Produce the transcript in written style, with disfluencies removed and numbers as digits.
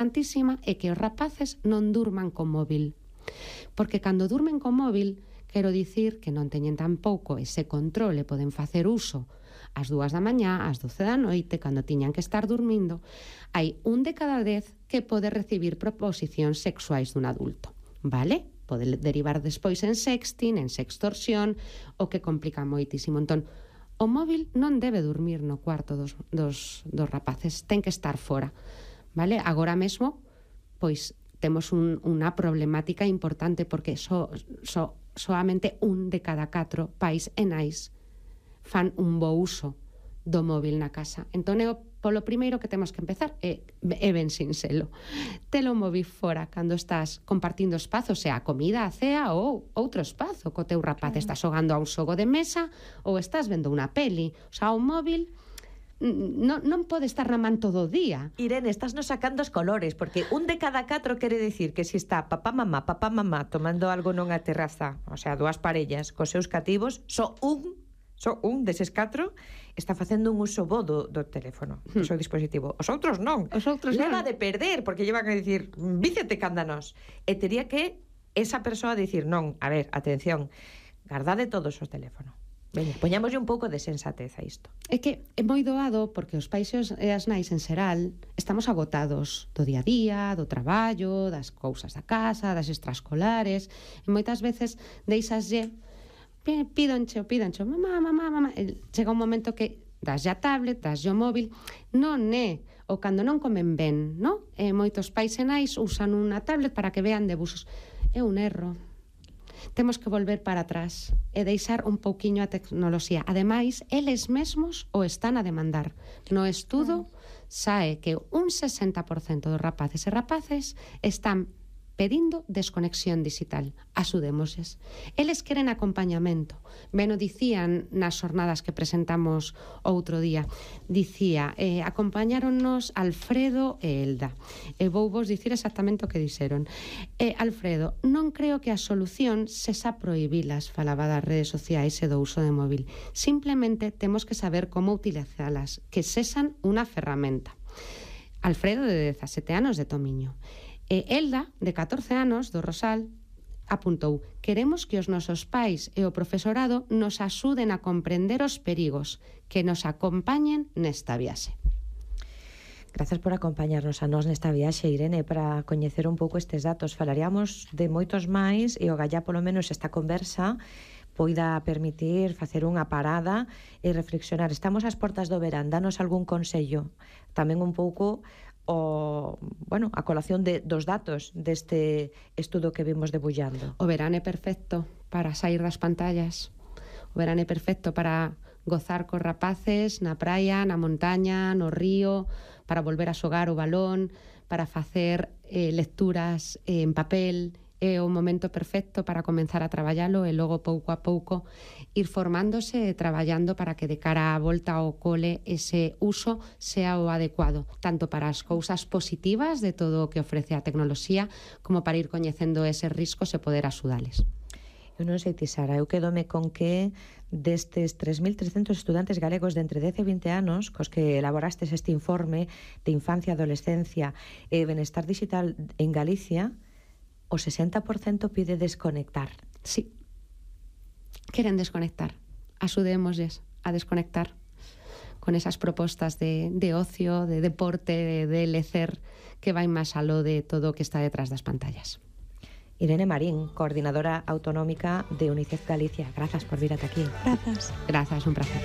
importantísima é que os rapaces non durman con móvil. Porque cando durmen con móvil, quero dicir que non teñen tampouco ese control e poden facer uso ás 2 da mañá, ás 12 da noite, cando tiñan que estar dormindo. Hai 1 de cada 10 que pode recibir proposicións sexuais dun adulto, vale? Pode derivar despois en sexting, en sextorsión, o que complica moitísimo. Entón, o móvil non debe dormir no cuarto dos rapaces, ten que estar fora, vale? Agora mesmo, pois, temos unha problemática importante porque soamente 1 de cada 4 pais e nais fan un bo uso do móvil na casa. Entón, polo primeiro que temos que empezar é ben sinxelo. Telo móvil fora cando estás compartindo espazo, sea a comida, a cea ou outro espazo co teu rapaz. Estás xogando a un xogo de mesa ou estás vendo unha peli. O sea, o móvil non pode estar na man todo o día. Irene, estás nos sacando os colores, porque 1 de cada 4 quere decir que se está papá, mamá, tomando algo nunha terraza, o sea, 2 parellas cos seus cativos, só un deses 4 está facendo un uso bo do teléfono, do seu dispositivo. Os outros non. Leva de perder, porque llevan a dicir, vícete cándanos. E tería que esa persoa dicir, non, a ver, atención, gardade todos os teléfonos. Veña, poñámoslle un pouco de sensatez a isto. É que é moi doado porque os pais e as nais en xeral estamos agotados do día a día, do traballo, das cousas da casa, das extraescolares, e moitas veces deixaslle pídanche, mamá, chega un momento que daslle a tablet, daslle o móvil, non é o cando non comen ben, non? E moitos pais e nais usan unha tablet para que vean debuxos. É un erro. Temos que volver para atrás e deixar un pouquiño a tecnoloxía. Ademais, eles mesmos o están a demandar. No estudo sae que un 60% dos rapaces e rapaces están pedindo desconexión digital. Axudémosles. Eles queren acompañamento. Ben o dicían nas xornadas que presentamos outro día. Dicía, acompañáronnos Alfredo e Elda. E vou vos dicir exactamente o que dixeron. Alfredo, non creo que a solución sexa prohibilas, falaba das redes sociais e do uso de móvil. Simplemente temos que saber como utilizalas, que sexan unha ferramenta. Alfredo, de 17 anos, de Tomiño. E Elda, de 14 anos, do Rosal, apuntou: queremos que os nosos pais e o profesorado nos axuden a comprender os perigos, que nos acompañen nesta viaxe. Grazas por acompañarnos a nós nesta viaxe, Irene, para coñecer un pouco estes datos. Falaríamos de moitos máis e o gallá polo menos esta conversa poida permitir facer unha parada e reflexionar. Estamos ás portas do verán, danos algún consello, tamén un pouco a colación dos datos deste estudo que vimos debullando. O verán é perfecto para sair das pantallas. O verán é perfecto para gozar cos rapaces na praia, na montaña, no río, para volver a xogar o balón, para facer lecturas en papel. É o momento perfecto para comenzar a traballalo e logo pouco a pouco ir formándose e traballando para que de cara á volta ao cole ese uso sea o adecuado, tanto para as cousas positivas de todo o que ofrece a tecnoloxía como para ir coñecendo eses riscos e poder axudales. Eu non sei ti, Sara, eu quedome con que destes 3.300 estudantes galegos de entre 10 e 20 anos cos que elaborastes este informe de infancia, adolescencia e benestar digital en Galicia, o 60% pide desconectar. Sí, queren desconectar. Axudémosles a desconectar con esas propostas de ocio, de deporte, de lecer, que vai máis aló de todo o que está detrás das pantallas. Irene Marín, coordinadora autonómica de UNICEF Galicia. Grazas por vir ata aquí. Grazas, un placer.